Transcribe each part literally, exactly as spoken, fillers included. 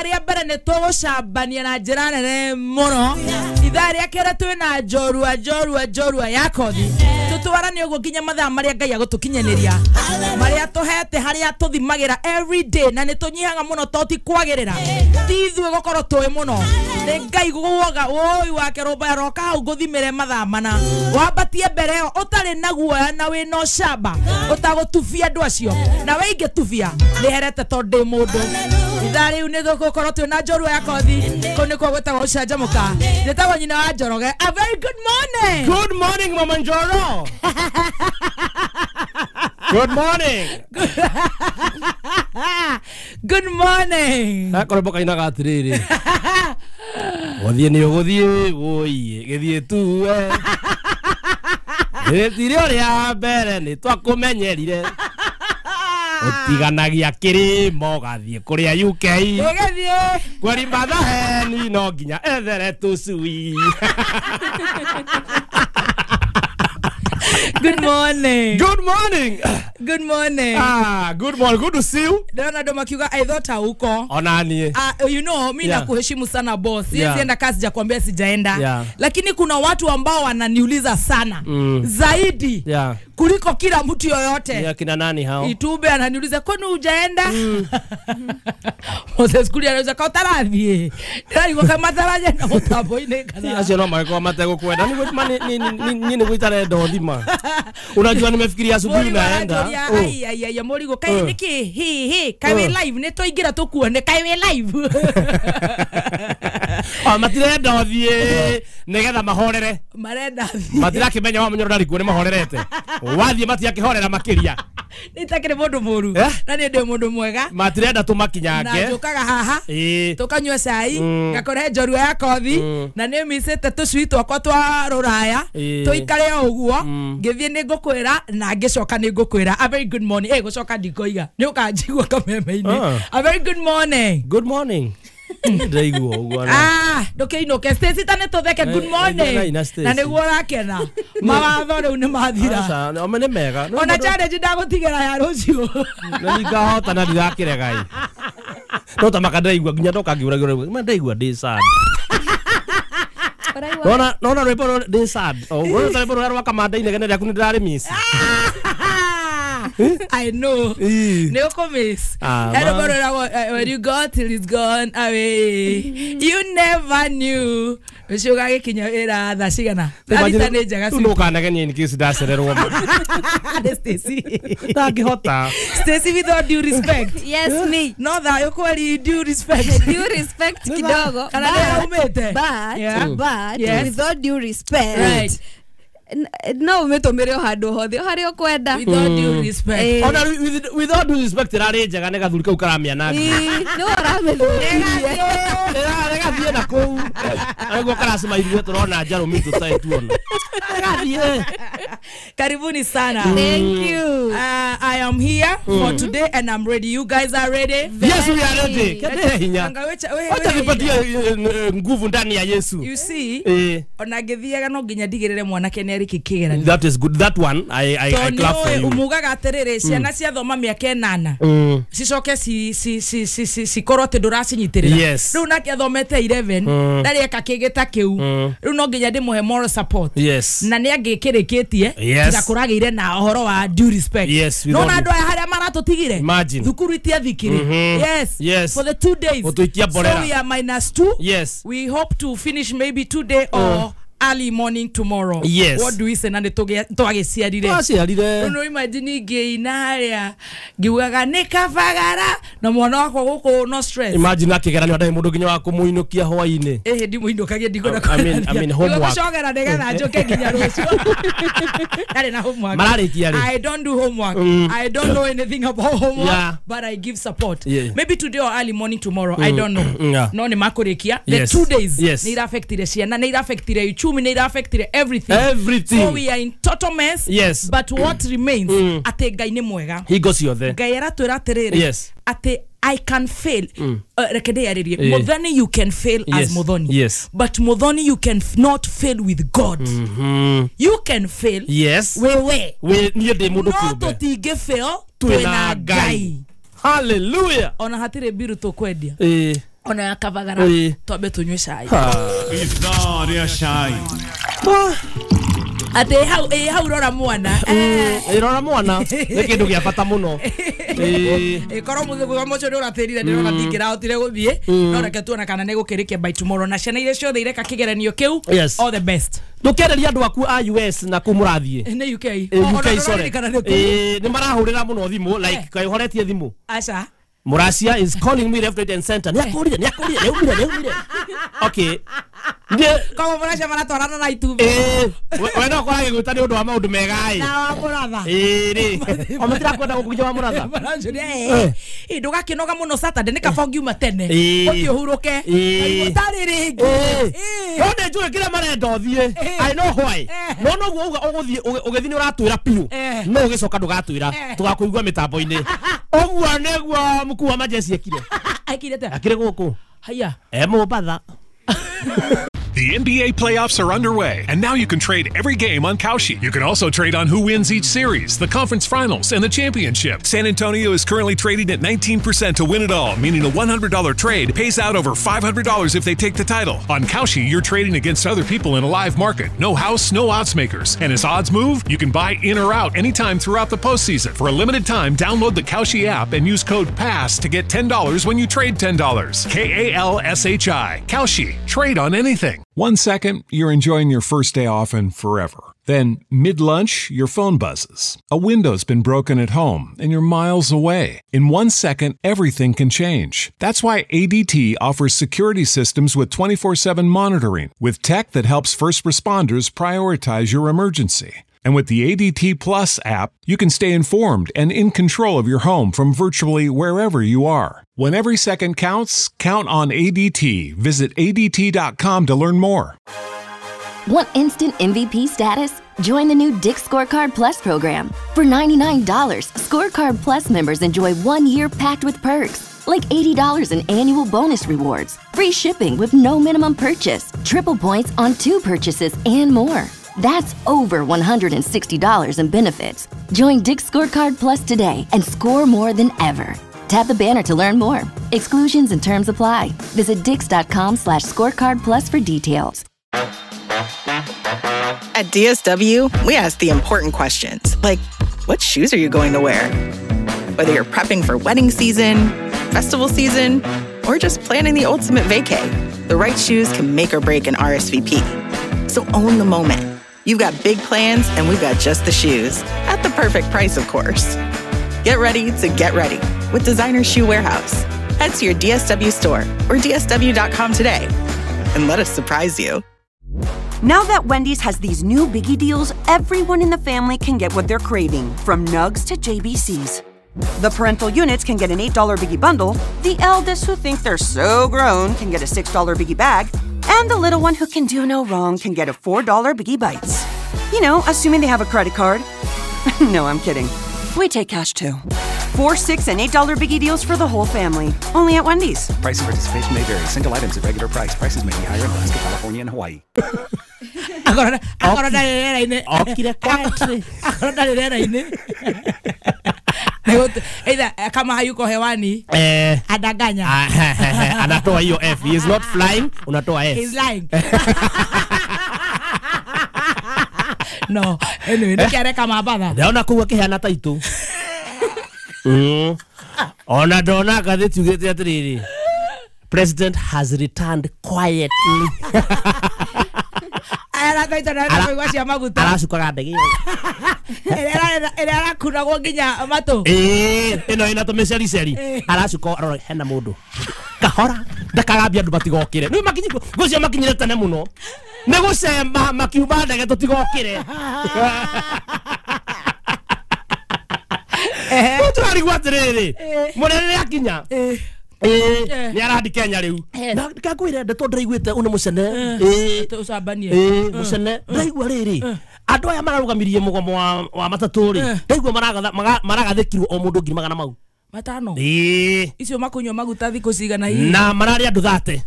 Ithaa rĩa mbere nĩ tũgũcambania na njĩra nene mũno. Ithaa rĩa kerĩ twĩna njorua njorua njorua ya kothi. Tũtwarane ũguo nginya mathaa marĩa Ngai agũtũkinyanĩria, marĩa tũhete harĩa tũthimagĩra every day, na nĩ tũnyihaga mũno to ti kwagĩrĩra, ti ithuĩ gũkorwo tũĩ mũno, nĩ Ngai guoga woi wake rũmba roka hau ngũthimĩre mathaa mana, wambatie mbere ĩyo ũtarĩ na guoya na wĩna ũcamba ũtagũtubia andũ acio, na we ingĩtubia nĩ herete tondũ ndĩ mũndũ. Ithaa rĩu nĩ tũgũkorwo twĩna njorua ya kothi, kũu nĩkuo gwĩtagwo gũcanjamũka. Njĩtagwo nyina wa Njoroge. A very good morning. Good morning, Mama Njoro. Good morning. Good morning. Gakorwo kainaga atiriri, gũthiĩ nĩ ũgũthiĩ wũiĩ gĩthiĩ tuwe gĩtire ũrĩa mbere nĩ twakũmenyerire, ũtiganagia kĩrĩma ũgathiĩ kũrĩa U K, Gĩthiĩ kweri mathaheni no nginya ethere tũcui. Good morning. Good morning. Good morning. Ah, good morning. Good to see you. Ndona ndo makiuga I thought huko. Ona nie. Ah, you know, mimi Yeah. nakuheshimu sana boss. Yeah. Siwezi kazi sijakwambia sijaenda. Yeah. Lakini kuna watu ambao wananiuliza sana. Mm. Zaidi. Yeah. Kuliko kila mtu yoyote. Yeah, kina nani hao? Itube ananiuliza kwani hujaenda? Mm. Moses Kuria anauliza ka utarathie. Ndari kwa mataraje na mutambo-inĩ kana. Acio no magĩkorwo mategũkwenda. Nĩ ni ni gũitarenda ũthima. Unajua nimefikiria asubuhi naenda. Oh. Ai ai ai morigo kai niki hi hi kai we live nĩ tũingĩra tũkuone kai we live. Ah, matirenda ũthiĩ nĩgetha mahorere. Marenda thiĩ. Matirakĩmenya wa mũnyoro ndarĩ kuo nĩ mahorerete. Wathiĩ matiakĩhorera makĩria. Nĩ takĩrĩ mũndũ mũru na nĩ ndĩ mũndũ mwega. Matirenda tũmakinyange. Na njũkaga haha tũkanyua cai ngakora njorua ya kothi na nĩ micĩte tũcui twakwa twa rũraya tũikare o ũguo ngĩthiĩ nĩ ngũkwĩra na ngĩcoka nĩ ngũkwĩra a very good morning. Eh, gũcoka ndikoiga nĩ ũkanjigua kameme-inĩ. A very good morning. Good morning. Ndaigua ũguo. Ah, ndũkĩinũke Stacy ta nĩ tũtheke good morning. Na nĩguo ũrakena. Mawatho rĩu nĩ mathira. Aca, ome nĩ mega. Ona challenge ndagũtigĩra ya rũciũ. Na ningahota na ndirakĩrega. No ta maka ndaigua nginya ndoka ngiũragĩra. Ma ndaigua ndĩ sad. Nona nona rwĩmbo ndĩ sad. Ũguo ta rwĩmbo rũrĩa rwa Kamanda inegene rĩaku nĩ ndĩrarĩ miss. I know. Nĩ ũkũmiss. When you go till it's gone away, you never knew. Ũcio ũgagĩkinya wĩra thaa cigana? Thaa thita nĩ njega. Rĩu ndũkanegenie in case ndacererwo. Nĩ Stacy. Ndangĩhota. Stacy, with all due respect. Yes, me. No thayũ kweli, due respect. Due respect kidogo. Kana nĩ aumĩte. But, yeah. but, yes. With all due respect. Right. No umetomere o handũ hothe o harĩa ũkwenda. With all due respect. Ona with, with all due respect ĩrarĩ njega nĩ gathuri kau karamĩananga. Nĩ ũramĩthũkirie. Ĩrathiĩ na kũu. Nĩguo karacima ithuĩ tũrona njarũ mitũ tũtarĩ tuona. Ĩrathiĩ. Karibuni sana. Thank you. Uh, I am here mm. for today and I'm ready. You guys are ready? Yes, we are ready. Kete hinya. Wacha nipatie nguvu ndani ya Yesu. You see? Eh. Ona ngĩthiaga no nginya ndigĩrĩre mwanake nĩ arĩki kĩgeranio. That is good. That one I I, I clap for you. Umugaga atĩrĩrĩ ciana ciathoma mĩaka ĩnana cicoke ci ci ci ci cikorwo atĩ ndũracinyitĩrĩra. Yes. Rĩu nake athomete eleven ndarĩ eka kĩngĩ ta kĩu. Rĩu no nginya ndĩmũhe moral support. Yes. Na nĩ angĩkĩrĩkĩtie Yes. tiga kũragĩire na ũhoro wa due respect. Yes, no na andũ aya harĩa maratũtigire. Imagine. Thukuru itiathikire. Yes. Yes. For the two days. Gũtũikia mborera. So we are minus two. Yes. We hope to finish maybe today or early morning tomorrow. Yes. What do we say? Na nĩ twagĩciarire. Twaciarire. No imagine ngĩina harĩa ngiugaga nĩ kabagara na mwana wakwa gũkũ no stress. Imagine akĩgeranio ndarĩ mũndũ nginya wa kũmũinũkia hwaĩ-inĩ. Ĩhĩ ndimũinũkagia ndikwenda. I mean, I mean homework. Gũcogera nĩgetha njũke nginya rũciũ. Ndarĩ na homework. Mararĩkia rĩ? I don't do homework. Mm. I don't know anything about homework. Yeah. But I give support. Yeah. Maybe today or early morning tomorrow. I don't know. Yeah. No nĩ makũrĩkia. The Yes. two days Yes. nĩ iraffectire ciana, nĩ iraffectire uchumi, nĩ iraffectire everything. Everything. So we are in total mess. Yes. But what remains Mm. atĩ Ngai nĩ mwega. Hingo ciothe. Ngai aratwĩra atĩrĩrĩ. Yes. Atĩ I can fail. Mm. Uh, reke ndĩyarĩrie. Yeah. Muthoni, you can fail yes. as Muthoni. Yes. But Muthoni, you can f not fail with God. Mm-hmm. You can fail. Yes. Wewe. We niĩ ndĩ mũndũ No kĩũmbe. tũtingĩ fail Twĩna Ngai. Hallelujah. Ona hatirĩ mbiru tũkwendia. Eh. Ona ya Kavagara twambe tunywe cai. Ithaa rĩa cai. Ate hau eh hau rora mwana. Eh rora mwana nĩ kĩndũ gĩa bata mũno. Eh korwo mũthĩ mũcio nĩ ũratĩrire ndĩrona ndingĩrahotire gũthiĩ no reke tuona kana nĩ gũkĩrĩkia by tomorrow na ciana iria ciothe ireka kĩgeranio kĩu all the best. Ndũkĩereria andũ aku a U S na kũ mũrathiĩ. Nĩ U K. U K sorry. Eh nĩ marahũrĩra mũno thimũ like kaĩ ũhoretie thimũ. Aca. Muracia is calling me left, right and center. Ni akurire, ni akurire, ni umire, ni umire. Okay. Koguo Muracia maratwarana na itumbĩ. Eh, we no korage gwĩta nĩ ũndũ wa maũndũ mega ĩ. Na wa mũratha. Ĩ rĩ. O matirakwenda gũkũkinya wa mũratha. Maracia eh. Ndũgakĩnoga mũno Saturday nĩ kaba ũngiuma tene. Ũthiĩ ũhurũke. Ũtarĩ rĩngĩ. No nĩ njũĩ kĩrĩa marenda ũthiĩ. I know why. No noguo uga ũgũthiĩ ũgĩthiĩ nĩ ũratwĩra biũ. No ũgĩcoka ndũgatwĩra. Tũgakũigua mĩtambo-inĩ. Ũguo nĩguo mkuu wa majeshi ekire. Ekire atĩa? Akire gũkũ. Haya. E Mombatha. The N B A playoffs are underway, and now you can trade every game on Kalshi. You can also trade on who wins each series, the conference finals, and the championship. San Antonio is currently trading at nineteen percent to win it all, meaning a one hundred dollar trade pays out over five hundred dollars if they take the title. On Kalshi, you're trading against other people in a live market. No house, no odds makers. And as odds move, you can buy in or out anytime throughout the postseason. For a limited time, download the Kalshi app and use code PASS to get ten dollars when you trade ten dollars. K A L S H I. Kalshi. Trade on anything. One second, you're enjoying your first day off and forever. Then, mid-lunch, your phone buzzes. A window's been broken at home, and you're miles away. In one second, everything can change. That's why A D T offers security systems with twenty-four seven monitoring, with tech that helps first responders prioritize your emergency. And with the A D T Plus app, you can stay informed and in control of your home from virtually wherever you are. When every second counts, count on A D T. Visit A D T dot com to learn more. Want instant M V P status? Join the new Dick's Scorecard Plus program. For ninety-nine dollars, Scorecard Plus members enjoy one year packed with perks, like eighty dollars in annual bonus rewards, free shipping with no minimum purchase, triple points on two purchases, and more. That's over one hundred sixty dollars in benefits. Join Dick's Scorecard Plus today and score more than ever. Tap the banner to learn more. Exclusions and terms apply. Visit dicks.com slash scorecard plus for details. At D S W, we ask the important questions, like, what shoes are you going to wear? Whether you're prepping for wedding season, festival season, or just planning the ultimate vacay, the right shoes can make or break an R S V P. So own the moment. You've got big plans, and we've got just the shoes. At the perfect price, of course. Get ready to get ready with Designer Shoe Warehouse. Head to your D S W store or D S W dot com today and let us surprise you. Now that Wendy's has these new biggie deals, everyone in the family can get what they're craving, from nugs to J B Cs. The parental units can get an eight dollar biggie bundle, the eldest who think they're so grown can get a six dollar biggie bag, and the little one who can do no wrong can get a four dollar Biggie Bites. You know, assuming they have a credit card. No, I'm kidding. We take cash too. Four, six, and eight dollar biggie deals for the whole family. Only at Wendy's. Price and participation may vary. Single items at regular price. Prices may be higher in Alaska, California, and Hawaii. Akorwo ndarĩ rĩera-inĩ. Okire quietly. Akorwo ndarĩ rĩera-inĩ. Either kama hayuko hewani eh, adanganya. Anatoa hiyo F. He is not flying, unatoa F. He's lying. No, anyway, nikiareka mabatha. Ndaona kuu akihana ta itu. Mm. Ona ndona ngathĩti ugĩte atĩrĩrĩ, President has returned quietly. Arathaita na kũigua cia maguta. Aracukaga ndege ĩyo. Ĩrĩa arakunagwo nginya matũ. Ĩĩ, ĩno ĩna tũmĩcericeri. Aracuka arora hena mũndũ. Kahora ndakagambia andũ matigokĩre. Rĩu makinyi gũcio makinyire tene mũno. Nĩ gũcema makiuma ndege tũtigokĩre. Rĩu tũrarigwo atĩrĩrĩ, mũnene nĩ akinya. Ĩĩ, nĩ arandi Kenya rĩu. Na ngakwĩre ndeto ndĩraiguĩte ũyũ nĩ mũcene. Ĩĩ, ũcambanie. Ĩĩ, mũcene. Ndĩraigua rĩrĩ, andũ aya mararũgamirie mũgomo wa wa matatũ rĩ, ndaigua maragathĩkirwo o mũndũ ngiri magana mau matano. Ĩĩ, icio makunyua maguta thikũ cigana hihi. Na mararĩ andũ thate.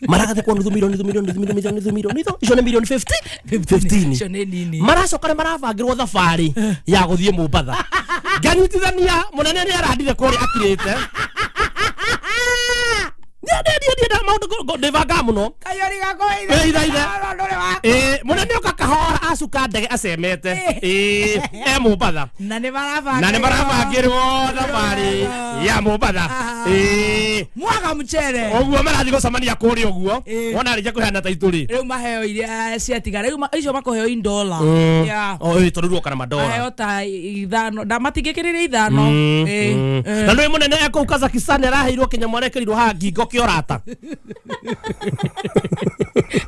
Maragathĩkwo nuthu milioni, nuthu milioni, nuthu milioni, nuthu milioni, icio nĩ milioni fifty, fifteen. Icio nĩ nini. Maracoka nĩ marabangĩrwo thabarĩ ya gũthiĩ Mombatha. Nganyitithania mũnene nĩ arandire kũrĩa akirĩte. Ndienda maundu ndibangaga muno. Kayori gakwa ithe. Ithe ithe. Eh, munene oka kahora acuka ndege acemete. Eh, e Mombatha. Na ni marabangirwo. Na ni marabangirwo thabari ya Mombatha. Eh, mwaga mucere. Uguo marathi gucemania kuria uguo. Wona arĩkia kũheana taitũ rĩ. Rĩu maheo iria ciatigara. Rĩu icio makoheo in dollar. Yeah. Oh, ĩ tondu ruoka na madola. Maheo ta ithano. Na matingĩkĩrĩria ithano. Eh. Na nĩ munene ekũu Kazakhstan araheirwo kinya mwarekerirwo haha ngingo kĩorata.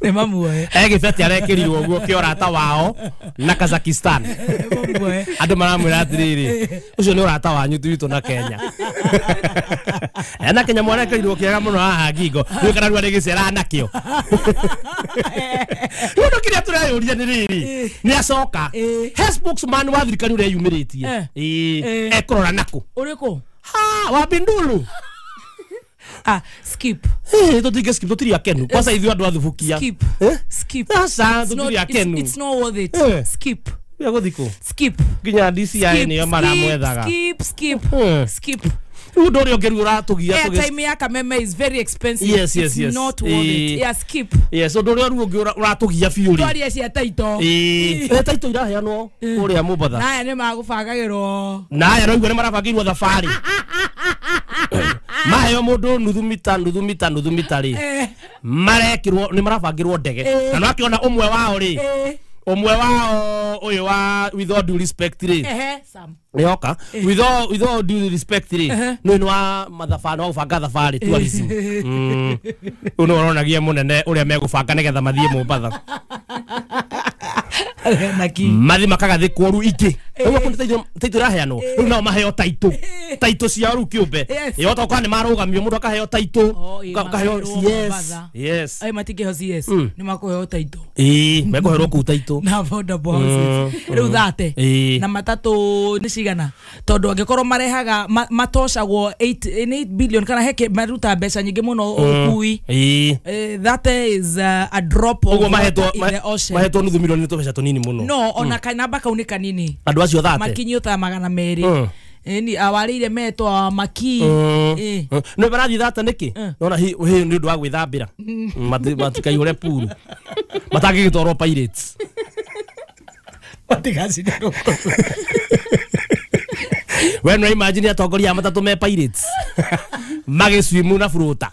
Nĩ mamuoe. Egĩbeti arekĩrirwo ũguo kĩorata wao na Kazakhstan. Andũ maramwĩra atĩrĩrĩ, ũcio nĩ ũrata wanyu ti witũ na Kenya. Ena Kenya mwarekerirwo kĩega mũno haha ngingo. Rĩu kana rĩu arĩgĩcera nakĩo. Rĩu ũndũ kĩrĩa tũreyũria nĩ rĩrĩ, nĩ acoka. He spokesman wa thirikari ũrĩa yumĩrĩtie. Ĩĩ, ekũrora nakũ? Ũrĩkũ? Ha, wa Bindulu. Ah, skip. Eh, tutige skip tutiri akenu. Kwanza ithuĩ andũ athubukia. Skip. Eh? Skip. Aca tutiri akenu. It's not worth it. Eh. Skip. Ya gũthikũ. Skip. Nginya D C I nĩyo maramwethaga. Skip, skip. Eh. Skip. Rĩu ũndũ ũrĩa ũngĩ rĩu ũratũgia tũgĩ. Airtime ya Kameme is very expensive. Yes, yes, yes. It's not worth it. Yeah, skip. Yes, ũndũ ũrĩa rĩu ũngĩ ũratũgia biũ rĩ. Twarie cia taito. Ĩĩ. Eh, taito iraheanwo kũrĩa Mombatha. Na aya nĩ magũbangagĩrwo. Na aya noiguo nĩ marabangĩirwo thabarĩ. Maheo mundu nuthu mita nuthu mita nuthu mita ri marekirwo ni marabangirwo ndege na no akiona umwe wao ri umwe wao uyu wa with all due respect ri ehe Sam nioka with all with all due respect ri no ni wa mathabari wa gubanga thabari tourism mm uno uronagia munene uria megubanga nigetha mathie Mombatha mathi makagathikwo ru ingi uguo kundi taitũ taitũ iraheanwo riu nao maheo taitũ taitũ ciao riu kiumbe ĩ otoka ni marugamio mundu akaheo taitũ akaheo yes yes ai matingĩheo C S ni makuheo taitũ ĩ mekuherwo kuu taitũ na affordable houses riu thate na matatu ni cigana tondu angikorwo marehaga matocagwo eight billion kana heke maruta mbeca nyingĩ mũno ũkui that is a drop of water in the ocean mahetwo nuthu milioni ni tũbeca tũnini mũno no ona kanamba kau ni kanini andu acio thate makinyio ta magana merĩ ni awarĩire metwo maki eh no barathi thate niki nona hi hi ni undu wa gwithambira matikaihũre puru matangĩgĩtwarwo Pirates matigacindarwo we no imagine atongoria a matatũ me Pirates magĩswimu na furuta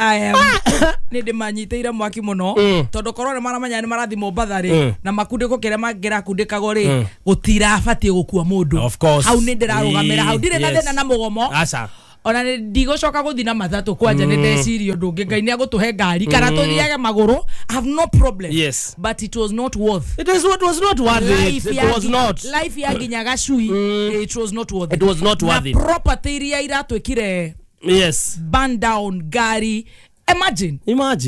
I am nĩ ndĩmanyitĩire mwaki mũno tondũ korwo nĩ maramenya nĩ marathi Mombatha rĩ na makundĩko kĩrĩa mangĩrakundĩkagwo rĩ gũtirabatiĩ gũkua mũndũ hau nĩ ndĩrarũgamĩra hau ndirĩ na thĩna na mũgomo aca ona nĩ ndigũcoka gũthiĩ na matatũ kwanja nĩ ndeciria ũndũ ũngĩ Ngai nĩ agũtũhe ngari kana tũthiage magũrũ I have no problem yes but it was not worth it is what was not worth it it was not life ya nginya gacui it was not worth it was not worth it na property iria iratwĩkire yes burn down ngari imagine imagine